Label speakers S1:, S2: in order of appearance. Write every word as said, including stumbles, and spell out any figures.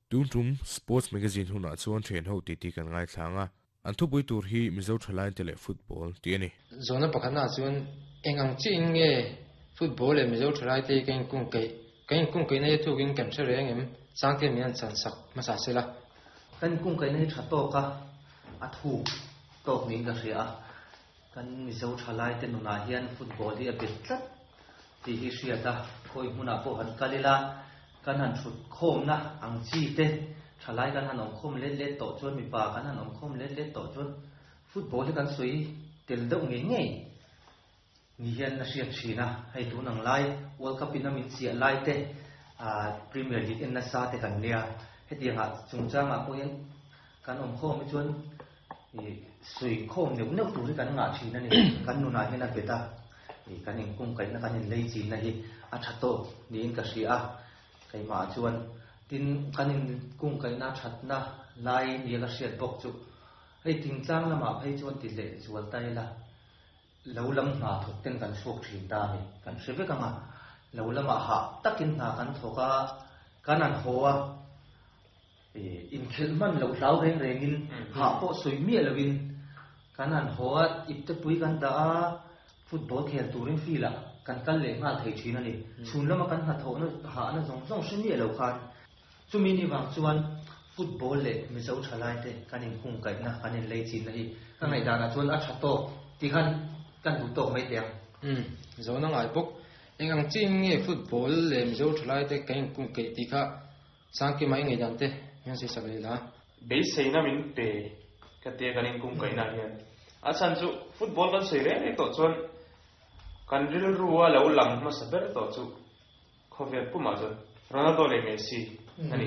S1: Tun tum Sports Magazine hunah chuan thian ho titi kan ngaithlang a, an thupui tur hi Mizo thalai te leh football tih a ni.
S2: Zawhna pakhatnaah chuan eng ang chiah in nge football leh Mizo thalai te hi kan inkungkaih, kan inkungkaihna hi thukin kan hre reng em? Sangte min an chan sak hmasa sela.
S3: Kan inkungkaihna hi tha tawk a, a thuk tawk niin ka hria a. Kan Mizo thalai te nunah hian football hi a bet tlat tih hi hriat a, khawi hmunah pawh han kal ila, kan han thut khawmna ang chi te thalai kan han awm khawm let let tawh chuan, mipa kan han awm khawm let let tawh chuan football hi kan sawi tel deuh ngei ngei ni hian a hriat thin a. Hei tun ang lai World Cup in a min chiah lai te, Premier League en nasa te kan nia, hetiangah chungchangah pawh hian kan awm khawm hi chuan sawi khawm neuh neuh tur hi kan ngah thin a ni. Kan nunah hian a bet a, kan inkungkaihna kan inlei chinna hi a tha tawk niin ka hria a. Keimah chuan tin kan inkungkaihna thatna lai nia ka hriat bawk chu hei thingtlang lamah phei chuan ti leh zual ta ila, lo lam hna thawk ten kan chhuak thin ta a ni. Kan hre vek anga lo lamah hah takin hna kan thawk a, kan an haw a, inkhelh hman loh hlau reng rengin hah pawh sawi miah lovin kan han haw a, ipte pui kan dah a, football khel turin field ah kan kal leh nghal thei thin a ni. Chhun lama kan hnathawhna hahna zawng zawng hre miah lo khan chumi ni vang chuan football leh Mizo thalai te kan inkungkaihna kan inlei chinna hi ka ngaihdanah chuan a tha tawk ti khan kan duh tawk mai teh ang.
S2: Umm, zawhna ngai bawk. Eng ang chiin nge football leh Mizo thalai te kan inkungkaih tih kha Sangkima i ngaihdan te hian sawi sak leh la.
S4: Beiseina min pe ka tia kan inkungkaihna hian a chhan chu football kan sawi reng reng tawh chuan kan rilru a lo lang hmasa ber tawh chu khawvel pumah chuan Ronaldo leh Messi a ni.